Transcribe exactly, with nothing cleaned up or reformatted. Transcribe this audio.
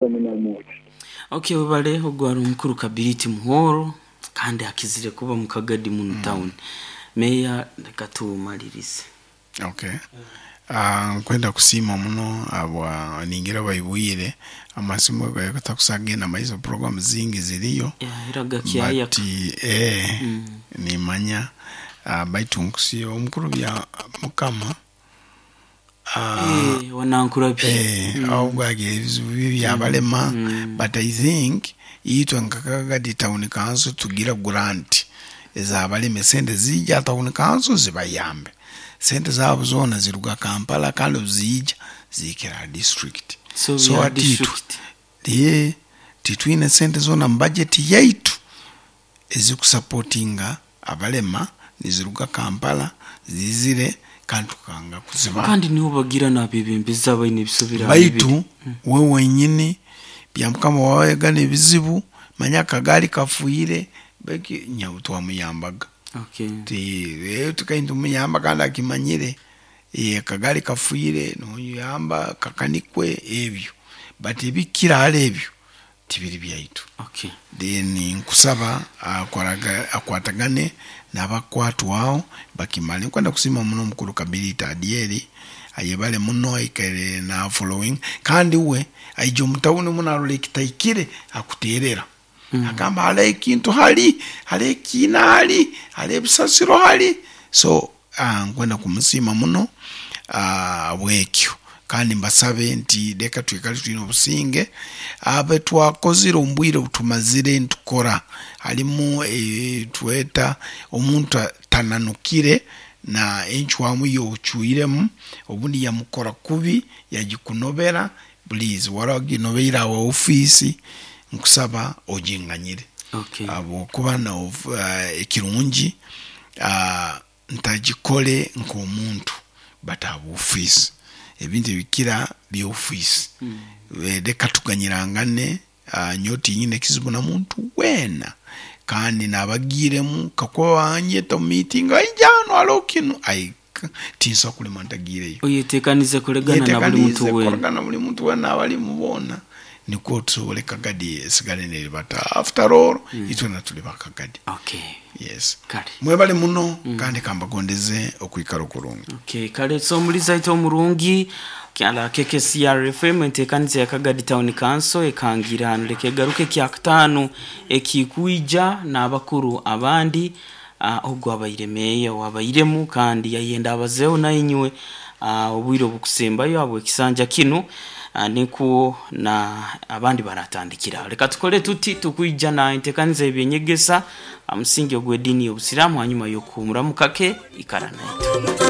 Omunyamugi. Okay, webale. Ogwo omukuru Kabiriti Muhoro, kandi akizire kuba mu Kagadi muno town. Meya, reka tumalirize. Okay, uh, nkwenda kusiima muno abwa ningira baibwire amasimu gatakusagenda maiso, program zingi ziriyo. Yeah, iraga kyaya. But eh, nimanya uh, baitu nkusiima omukuru bya mukama uh, eh wanankurabye. eh, ahubwo ebizibu bye byabalema, but I think itwe nka Kagadi Town Council tugira grant ezabalema, esente zijja town council zibayambe. Sente zaabo zoona ziruga Kampala, kandi obuziija ziikira district. So, so bya ati itwe district. Ye titwine sente zoona mu budget yaitu ezikusapotinga abalema, niziruga Kampala zizire kandi tukanga kuzibaha. Kandi niho bagira n'abebembezi abaine ebisobera. Baitu we wenyini bya mukama wawegana ebizibu, manya akagaali kafuire beki nyawe twamuyambaga. Okay. Ti eh, tukaindi tumuyamba kandi akimanyire, eh, akagaali kafuire noyamba kakanikwe ebyo, but ebikiraala ebyo tibiri byaitu. Okay. Then nkusaba akoraga- akwatagane n'abakwatwaho bakimale. Nkwenda kusiima muno omukuru Kabirita Adieri, ayebale muno, aikaire na following, kandi we aija omutawuni muno arora ekitaikire akuterera mm. Agamba hali ekintu, hali hali ekiina, hali hali ebisasiro hali. So uh, nkwenda kumusiima muno uh, bwekyo, kandi mbasabe nti leka twikale twine obusinge abe twakozire omu bwire obutumazire ntukora halimu e, tweta omuntu tananukire na encwamu yochwiremu, obundi yamukora kubi yagikunobera. Please, waraginobeire awa ofiisi, nkusaba oginganyire. Okay. Habwokuba na uh, ekirungi uh, ntagikole nk'omuntu, but habwofiisi ebintu ebikira byofiisi mm. Leka tuganyirangane. uh, nyowe tinyine ekizibu na muntu weena, kandi nabagiiremu kakuba banyeta omu meeting, aija hanu hariho kinu, ai tinsobola kulema ntagiireyo. Oyetekanize kulegana na buli muntu Yetekanize wena. kukoragana buli muntu wena abalimu boona, nikwo tusobole Kagadi esigale neribata. After all mm. itwena tuli bakagadi. Okay. Yes. Kale. Mwebale muno mm. Kandi kambagondeze okwikara okurungi. Okay, kale. So omuliza ite omurungi kyala K K C R F M, entekaniza ya Kagadi Town Council ekangira hano, leka egaruke kyakutaano ekikwija n'abakuru abandi. uh, ogwo abaire meeya wabairemu kandi yayenda abazeho nainywe uh, obwire obukusembayo abo ekisanja kinu, uh, nikwo na abandi baratandikira. Leka tukole tuti, tukwija na entekaniza ebyenyegesa amusingi ogw'eddiini y'obusiraamu hanyuma y'okuhumuramu kake. Ikara naitu.